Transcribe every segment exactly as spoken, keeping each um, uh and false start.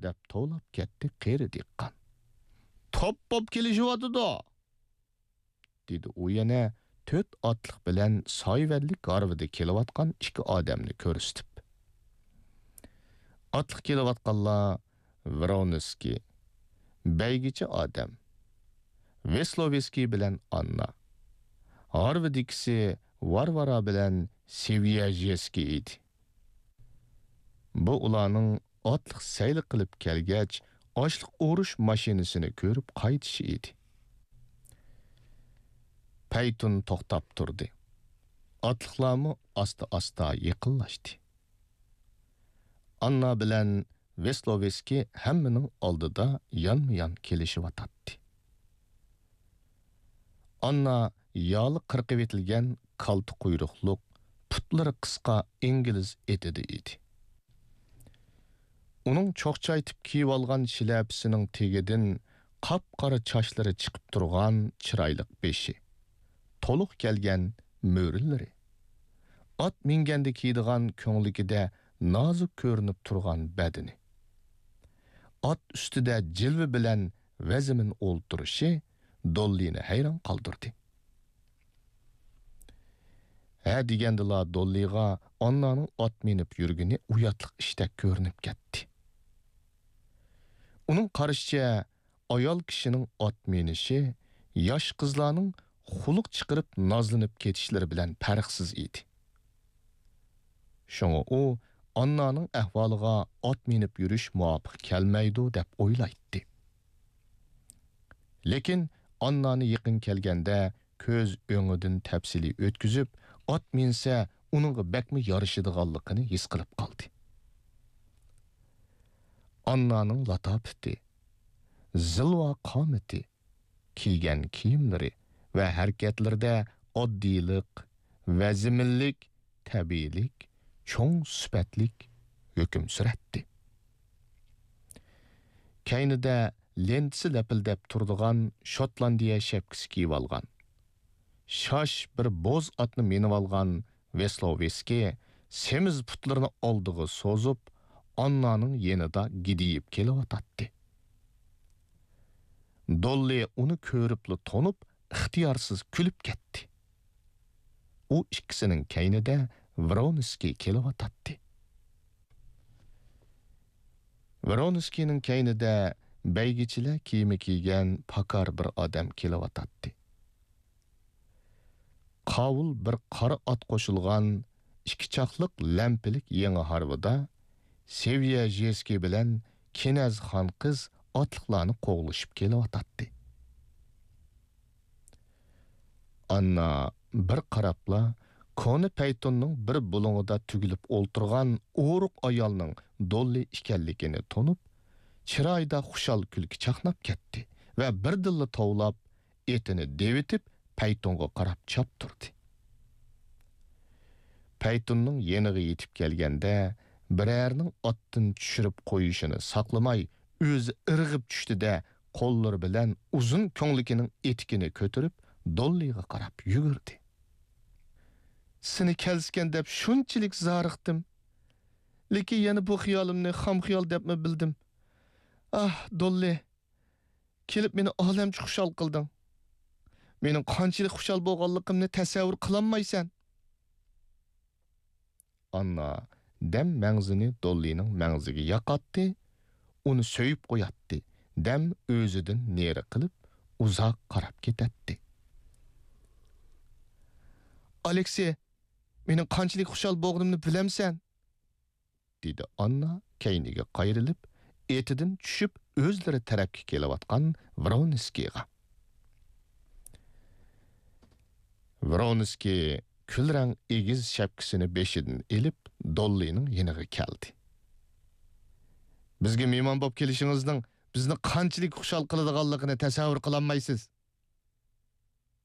دەپ توۋلاپ كەتتى قېرى دېھقان. «توپ بوپ كېلىشىۋاتىدۇ!» دېدى ئۇ يەنە تۆت ئاتلىق بىلەن سايۋەنلىك ھارۋىدا كېلىۋاتقان ئىككى ئادەمنى كۆرسىتىپ. ئاتلىق كېلىۋاتقانلار ۋرونسكىي، بەيگىچە ئادەم، ۋېسلوۋېسكىي بىلەن ئاننا. ھارۋىدىكىسى ۋارۋارا بىلەن سېۋيەژېسكىي ئىدى. بۇ ئۇلارنىڭ ئاتلىق سەيلە قىلىپ كەلگەچ، ئاشلىق ئورۇش ماشىنىسىنى كۆرۈپ قايتىشى ئىدى. پەيتۇن توختاپ تۇردى. ئاتلىقلارمۇ ئاستا-ئاستا يېقىنلاشتى. ئاننا بىلەن ۋېسلوۋېسكىي ھەممىنىڭ ئالدىدا يانمۇ-يان كېلىشىۋاتاتتى. ئاننا يالى قىرقىۋېتىلگەن كالتە قۇيرۇقلۇق، پۇتلىرى قىسقا ئىنگلىز ئېتىدە ئىدى. ئۇنىڭ چوقچايتىپ كىيىۋالغان شىلەپىسىنىڭ تېگىدىن قاپقارا چاچلىرى چىقىپ تۇرغان چىرايلىق بېشى، تولۇق كەلگەن مۈرىلىرى، ئات مىنگەندە كىيىدىغان كۆڭلىكىدە نازۇك كۆرۈنۈپ تۇرغان بەدىنى، ئات ئۈستىدە جىلۋە بىلەن ۋەزمىن ئولتۇرۇشى دوللىنى ھەيران قالدۇردى. ھە دېگەندىلا دوللىغا ئاننانىڭ ئات مىنىپ يۈرگىنى ئۇياتلىق ئىشتەك كۆرۈنۈپ كەتتى. ئۇنىڭ قارىشىچە، ئايال كىشىنىڭ ئات مىنىشى ياش قىزلارنىڭ خۇلق چىقىرىپ نازلىنىپ كېتىشلىرى بىلەن پەرقسىز ئىدى. شۇڭا ئۇ ئاننانىڭ ئەھۋالىغا ئات مىنىپ يۈرۈش مۇۋاپىق كەلمەيدۇ دەپ ئويلايتتى. لېكىن ئاننانى يېقىن كەلگەندە كۆز ئۆڭىدىن تەپسىلىي ئۆتكۈزۈپ، ئات مىنسە ئۇنىڭغا بەكمۇ يارىشىدىغانلىقىنى ھېس قىلىپ قالدى. ئاننانىڭ لاتاپىتى، زىلۋا قامىتى، كىيگەن كىيىملىرى ۋە ھەرىكەتلىرىدە ئاددىيلىق، ۋەزمىنلىك، تەبىئىيلىك، چوڭ سۈپەتلىك ھۆكۈم سۈرەتتى. كەينىدە لېنتىسى لەپىلدەپ تۇرىدىغان شوتلاندىيە شەپكىسى كىيىۋالغان، شاش بىر بوز ئاتنى مىنىۋالغان ۋېسلوۋېسكىي سېمىز پۇتلىرىنى ئالدىغا سوزۇپ، ئاننانىڭ يېنىدا گىدىيىپ كېلىۋاتاتتى. دوللى ئۇنى كۆرۈپلا تونۇپ، ئىختىيارسىز كۈلۈپ كەتتى. ئۇ ئىككىسىنىڭ كەينىدە ۋرونسكىي كېلىۋاتاتتى. ۋرونسكىينىڭ كەينىدە بەيگىچىلەر كىيىمى كىيگەن پاكار بىر ئادەم كېلىۋاتاتتى. قاۋۇل بىر قارا ئات قوشۇلغان ئىككى چاقلىق لەمپىلىك يېڭى ھارۋىدا سېۋيەژېسكىي بىلەن كېنەز خان قىز ئاتلىقلارنى قوغلىشىپ كېلىۋاتاتتى. ئاننا بىر قاراپلا، كونا پەيتۇننىڭ بىر بۇلۇڭىدا تۈگۈلۈپ ئولتۇرغان ئورۇق ئايالنىڭ دوللى ئىكەنلىكىنى تونۇپ، چىرايىدا خۇشال كۈلكە چاقناپ كەتتى ۋە بىردىنلا توۋلاپ، ئېتىنى دېۋىتىپ، پەيتۇنغا قاراپ چاپتۇردى. پەيتۇننىڭ يېنىغا يېتىپ كەلگەندە، بىرەرىنىڭ ئاتتىن چۈشۈرۈپ قويۇشىنى ساقلىماي، ئۆزى ئىرغىپ چۈشتى-دە، قوللىرى بىلەن ئۇزۇن كۆڭلىكىنىڭ ئېتىكىنى كۆتۈرۈپ، دوللىغا قاراپ يۈگۈردى. سېنى كەلسىكەن دەپ شۇنچىلىك زارىقتىم. لېكىن يەنە بۇ خىيالىمنى خام خىيال دەپمۇ بىلدىم. ئاھ، دوللى! كېلىپ مېنى ئالەمچە خۇشال قىلدىڭ. مېنىڭ قانچىلىك خۇشال بولغانلىقىمنى تەسەۋۋۇر قىلالمايسەن. ئاننا دەم مەڭزىنى دوللىنىڭ مەڭزىگە ياقاتتى، ئۇنى سۆيۈپ قوياتتى، دەم ئۆزىدىن نېرى قىلىپ، ئۇزاق قاراپ كېتەتتى. ئالېكسى، مېنىڭ قانچىلىك خۇشال بولغىنىمنى بىلەمسەن؟ دېدى ئاننا كەينىگە قايرىلىپ، ئېتىدىن چۈشۈپ، ئۆزلىرى تەرەپكە كېلىۋاتقان ۋرونسكىيغا. ۋرونسكىي كۈلرەڭ ئېگىز شەپكىسىنى بېشىدىن ئېلىپ، دوللىنىڭ يېنىغا كەلدى. بىزگە مېھمان بولۇپ كېلىشىڭىزنىڭ بىزنى قانچىلىك خۇشال قىلىدىغانلىقىنى تەسەۋۋۇر قىلالمايسىز.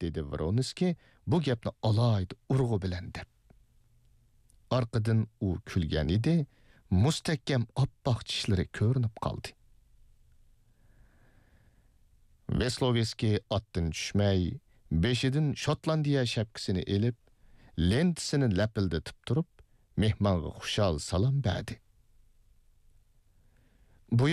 دېدى ۋرونسكىي بۇ گەپنى ئالاھىدە ئۇرغۇ بىلەن دەپ. ئارقىدىن ئۇ كۈلگەن ئىدى، مۇستەھكەم ئاپئاق چىشلىرى كۆرۈنۈپ قالدى. ۋېسلوۋېسكىي ئاتتىن چۈشمەي، بېشىدىن شوتلاندىيە شەپكىسىنى ئېلىپ، لېنتىسىنى لەپىلدىتىپ تۇرۇپ، مېھمانغا خۇشال سالام بەردى. بۇ